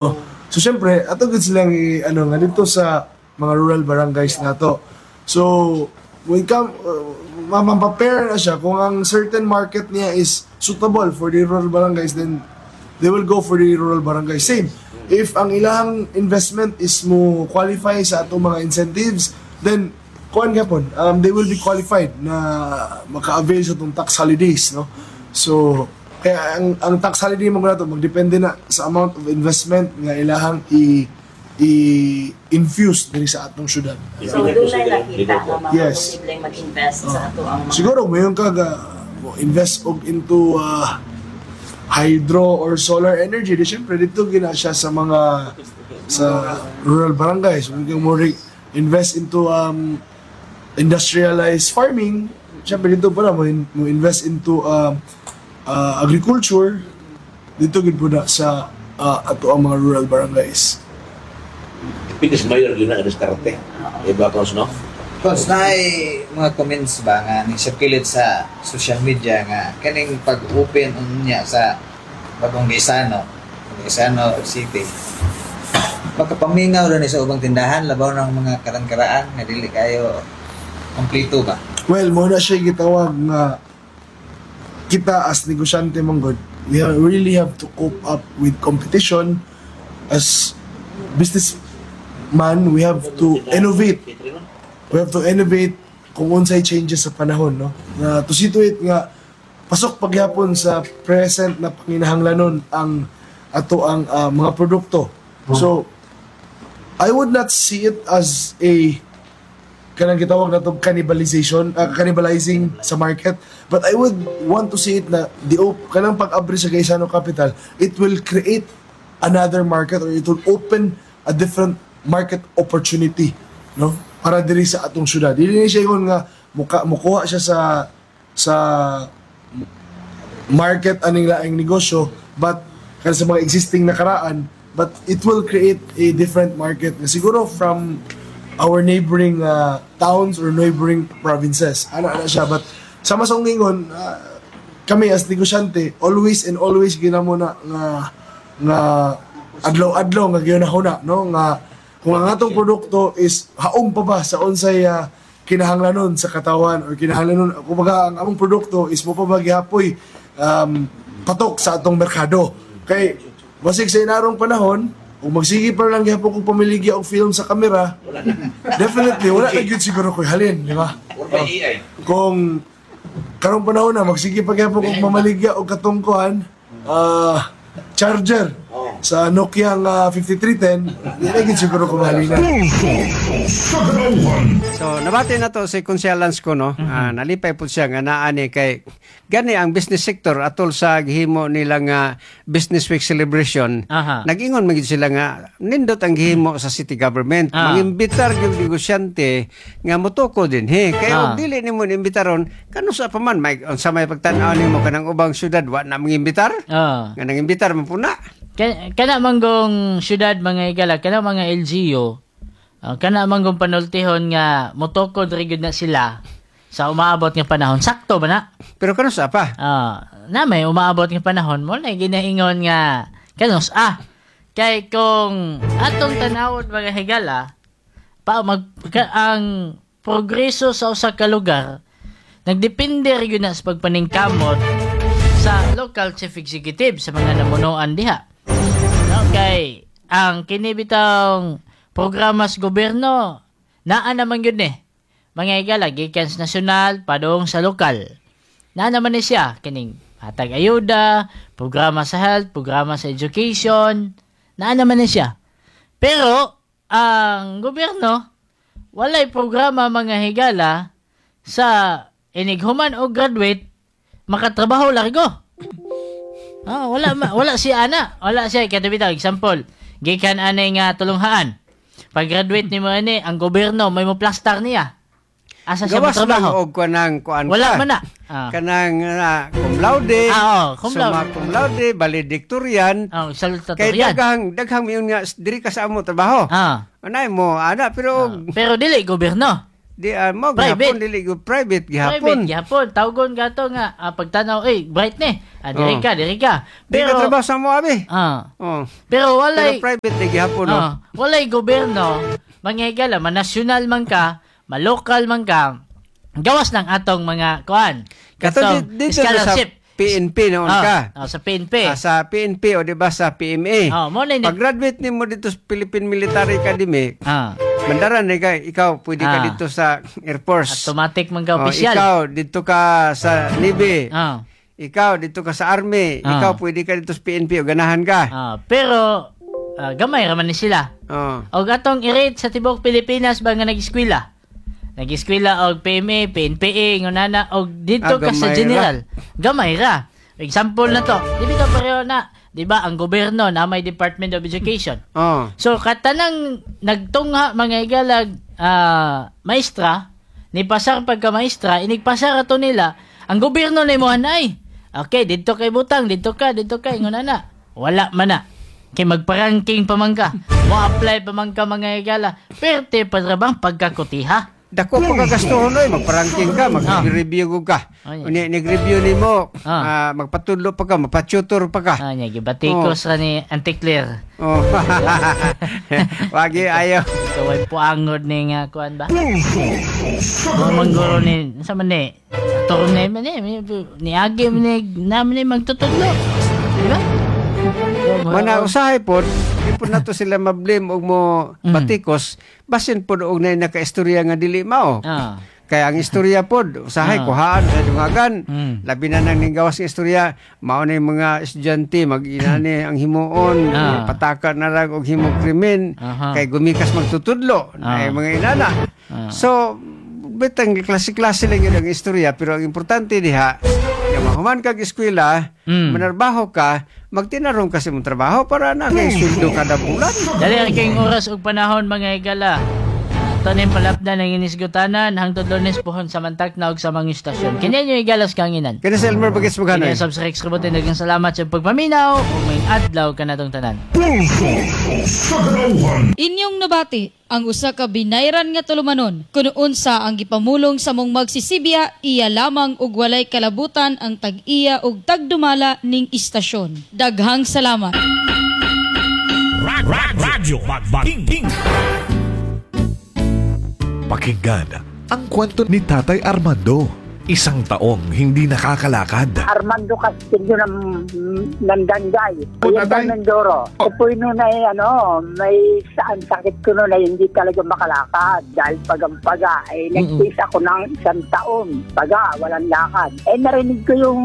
So syempre, ato gud silang ano nga dito sa mga rural barangays nato. So when come ma-prepare na siya kung ang certain market niya is suitable for the rural barangays, then they will go for the rural barangay. Same, if ang ilang investment is mo qualify sa atong mga incentives, then kuan gapon, they will be qualified na maka-avail sa atong tax holidays, no? So, kaya ang tax holiday mo nato magdepende na sa amount of investment nga ilahang i i-infuse diri sa atong syudad. So, doon na nakita nga mga posibleng mag-invest sa ato ang mga Siguro mayon ka ga mo invest og into hydro or solar energy, di syempre dito gina siya sa mga sa rural barangays. Kung kang mo invest into industrialized farming, syempre dito pa na mo invest into agriculture, dito gid po na sa ato ang mga rural barangays. Because mayor yun ang diskarte. Iba, Cons, no? Cons, naay mga comments ba nga ni circulate sa social media nga kaning pag-open unya sa bagong Gaisano, Gaisano City. Pagkapamingaw rin sa ubang tindahan, labaw ng mga karan-karaan nga dili kayo kompleto ba? Well, mo na siya gitawag nga kita as negosyante man gud, we really have to cope up with competition. As businessman, we have to innovate. We have to innovate kung unsay changes sa panahon, no? Na to situate nga pasok pagyapon sa present na panginahanglanon ang ato ang mga produkto. So, I would not see it as a kanang gitawag na to cannibalization, cannibalizing sa market, but I would want to see it na the kanang pag-abri sa Gaisano Capital, it will create another market or it will open a different market opportunity, no, para diri sa atong syudad. Dili ni siya ingon nga muka mukuha siya sa market aning laing negosyo, but kada sa mga existing na karaan, but it will create a different market na siguro from our neighboring towns or neighboring provinces, ana ana siya. But sama sa ingon, kami as negosyante, always and always ginamo na nga nga adlaw-adlaw nga gihuna-huna, no, nga kung ang atong produkto is haom pa ba sa unsay kinahanglanon sa katawan or kinahanglanon, kumbaga ang among produkto is mo pa ba gihapoy patok sa atong merkado. Kay basig sa inarong panahon, kung magsige pa lang gihapon kung pamiligya og film sa kamera, definitely wala na gyud siguro ko'y halin, di ba? Or by AI. Kung karong panahon na magsige pa gyapon kung mamaligya og katungkuan charger sa Nokia nga 5310, di na gyud siguro ko mahalina. So nabati na to si Konsehal Lance ko, no. Ah, nalipay po siya nga naa ni kay gani ang business sector atol sa gihimo nila nga Business Week celebration. Nag-ingon man gid sila nga nindot ang gihimo sa city government. Mangimbitar gyud negosyante nga motoko din he. Kay og dili nimo imbitaron, kanusa pa man may unsa may pagtan-aw nimo kanang ubang syudad wa na mangimbitar? Nga nangimbitar man puna. Kana manggong syudad, mga igala, kana mga LGU, kana manggong panultihon nga motokod ra gyud na sila sa umaabot nga panahon. Sakto ba na? Pero kanusa pa? Na may umaabot nga panahon mo na ginaingon nga kanus ah kay kung atong tanawon, mga higala, pa mag ang progreso sa usa ka lugar nagdepende ra gyud na sa pagpaningkamot sa local chief executive, sa mga namunuan diha, no? Kay ang kini bitawng programa sa gobyerno naa naman gyud ni, mga higala, gikan sa nasyonal padung sa lokal. Naa naman ni siya kining hatag ayuda, programa sa health, programa sa education, naa naman ni siya. Pero ang gobyerno walay programa, mga higala, sa inighuman o graduate makatrabaho largo. Ah, wala wala si ana, wala siya kaya bitaw example, gikan ani nga tulunghaan. Pag graduate nimo ani, ang gobyerno may mo plastar niya. Asa siya Gawas lang motrabaho? og kanang kuan Wala ka. man na. Kanang cum laude. Ah, oo, cum laude. Summa cum laude, valedictorian. Oh, Kay salutatorian. daghang daghang miyon nga diri ka sa amo trabaho. Anay mo ana pero Pero dili gobyerno. Di mo Private. gihapon, dili gyud private gihapon. Private gihapon. Tawgon ka to nga pagtanaw, eh, bright ni. Ah, diri Oh. ka, diri ka. Di ka Pero trabaho sa mo abi. ah, Oh. pero walay Pero private di gihapon, no. Walay gobyerno, mga higala, manasyonal man ka, malokal man ka, gawas ng atong mga kuan. Kato Katong dito na sa scholarship. PNP noon ka. Ah, sa PNP. Ah, sa PNP o di ba sa PMA. Oh, mo na Pag-graduate nimo dito sa Philippine Military Academy, mandaran na ka, ikaw pwede ka dito sa Air Force. Automatic man ka Oh, opisyal. ikaw dito ka sa Navy. Ikaw dito ka sa Army. Ikaw pwede ka dito sa PNP o ganahan ka. Pero gamay ra man ni sila. Oh. Og atong i-rate sa tibuok Pilipinas ba nga nag-eskwela? Nag-eskwela og PMA, PNPA, ngunana og dito ka sa Gamay ra. general. Gamay ra. Example na to. Di ba pareho na, di ba ang gobyerno na may Department of Education. Oh. So katanang nagtungha mga igalag maestra, ni pasar pagka maestra, inigpasar ato nila, ang gobyerno na imuhan ay. Okay, didto kay butang, didto ka, ingon na. Wala man na. Kay magparangking pa man ka. Mo-apply pa man ka, mga igala. Perte pa ra bang pagkakutiha? Dako pa ka gastuhon oy, magparangking ka, mag-review ka. Ay. Uni nag-review nimo, magpatudlo pa ka, magpa-tutor pa ka. Ah, nya gibatikos ra ni Anticlear. Oh. Wagi ayo. Ikaw ay puangod ni nga kuan ba? Mangguro ni sa man ni torne man ni ni agi man ni naman ni magtutudlo. Di ba? Mana usahay pod, di pod nato sila mablame og mo batikos, basin pod og nay nakaistorya nga dili mao. Kaya ang istorya pod, usahay kuhaan sa dungagan, labi na nang ninggawas nga istorya, mao na yung mga estudyante mag-inani ang himuon, pataka na lang og himong krimen, kay gumikas magtutudlo, na mga inana. So, bitang klase-klase lang yun ang istorya, pero ang importante diha, yung mahuman kag eskwela, manarbaho ka, magtinarong ka sa imong trabaho para na kay sweldo kada bulan. Dali ang kayong oras ug panahon, mga higala. Ito na yung palapdan ng inisgutanan hangtod Lunes pohon sa mantak na og sa mga istasyon. Kini nyo igalas kanginan. Kini sa Elmer Bagets Maganoy. Kini sa Rex Robotin, daghang salamat sa pagpaminaw ug may adlaw kanatong tanan. Inyong nabati ang usa ka binayran nga tulumanon kun unsa ang gipamulong sa mong magsisibya, iya lamang og walay kalabutan ang tag-iya og tagdumala ning istasyon. Daghang salamat. Radyo King. Pakinggan ang kwento ni Tatay Armando. Isang taong hindi nakakalakad. Armando Castillo ng Danday. Oriental Mindoro. Ako po noon ay ano, may saan sakit ko noon ay hindi talaga makalakad dahil pagampaga. Ay nagtiis ako ng isang taon. Paga, walang lakad. Eh narinig ko yung